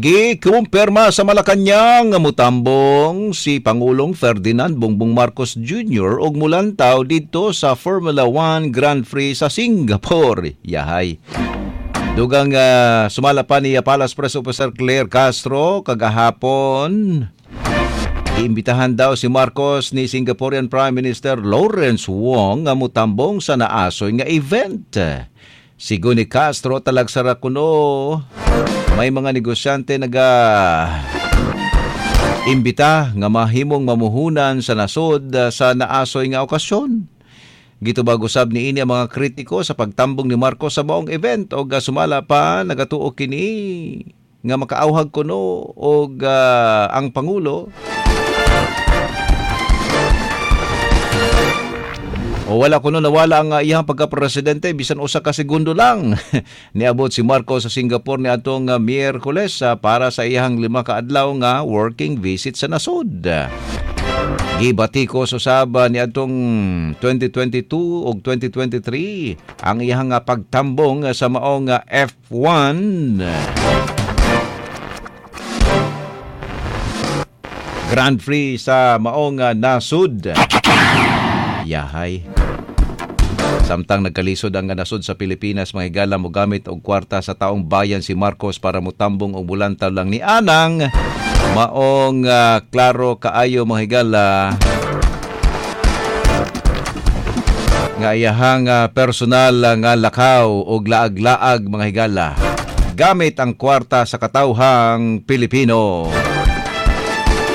Gikumpirma sa Malacañang nga mutambong si Pangulong Ferdinand Bongbong Marcos Jr. og mulantaw didto sa Formula 1 Grand Prix sa Singapore. Yahay. Dugang sumala pa ni Palace Press Officer Claire Castro kagahapon. Iimbitahan daw si Marcos ni Singaporean Prime Minister Lawrence Wong nga mutambong sa naasoy nga event. Sigon ni Castro, talagsara kuno may mga negosyante naga imbita nga mahimong mamuhunan sa nasod sa naasoy nga okasyon. Gitubag usab niini ang mga kritiko sa pagtambong ni Marcos sa maong event og sumala pa nagatuo kini nga makaauhag kuno og ang pangulo o wala kuno nawala ang iyang pagka-presidente bisan usa ka segundo lang. Niabot si Marcos sa Singapore niadtong Miyerkules para sa iyang 5 ka adlaw nga working visit sa nasod. Gibatikos usab niadtong 2022 ug 2023 ang iyang pagtambong sa maong F1 Grand Prix sa maong nasod. Yahay. Samtang nagkalisod ang nasod sa Pilipinas, mga higala, mogamit og kwarta sa taong bayan si Marcos para mutambong og bulantaw lang ni Anang. Maong klaro kaayo, mga higala, nga iyahang personal nga lakaw og laag-laag, mga higala, gamit ang kwarta sa katawhang Pilipino.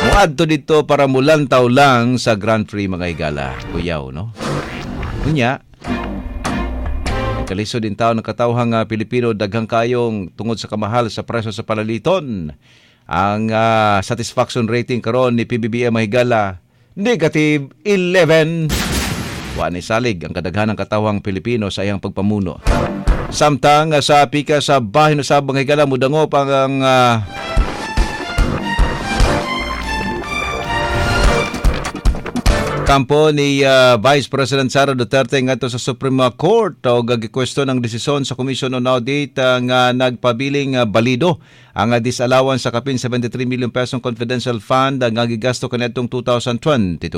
Muadto dito para mulantaw lang sa Grand Prix, mga higala. Kuyaw, no? Kunya, kalisod din tao ng katawhang Pilipino, daghang kayong tungod sa kamahal sa presyo sa palaliton. Ang satisfaction rating karon ni PBBM, mga higala, negative 11. Wa ni salig ang kadaghanang katawhang Pilipino sa iyang pagpamuno. Samtang sa pika sa bahin sa mga higala, mudangop ang kampo ni Vice President Sara Duterte ngadto sa Supreme Court og gikwestiyon ang desisyon sa Commission on Audit nga nagpabiling balido ang disallowance sa kapin 73 million pesong confidential fund nga gigasto kaniadtong 2022.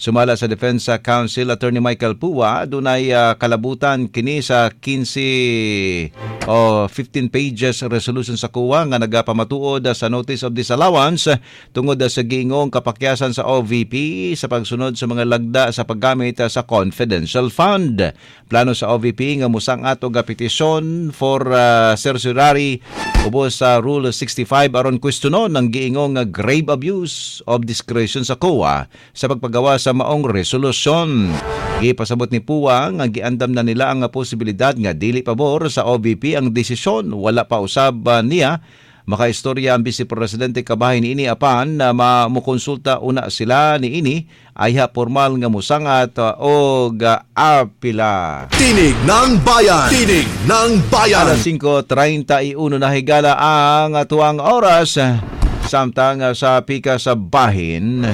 Sumala sa Defense Counsel Attorney Michael Pua, dunay kalabutan kini sa 15 o 15 pages resolution sa COA nga nagapamatuod sa notice of disallowance tungod sa giingong kapakyasan sa OVP sa pagsunod sa mga lagda sa paggamit sa confidential fund. Plano sa OVP nga musangat og petisyon for certiorari ubos sa Rule 65 aron kwestiyonon ang giingong grave abuse of discretion sa COA sa pagpagawa sa maong resolusyon. Gipasabot ni Pua nga giandam na nila ang posibilidad nga dili pabor sa OVP ang desisyon. Wala pa usab niya makaistorya ang Vice Presidente kabahin ini apan na mamukonsulta una sila niini ayha formal nga musangat og apila. Tinig ng Bayan! Tinig ng Bayan! Alas 5:31 na, higala, ang atuang oras. Samtang sa pika sa bahin,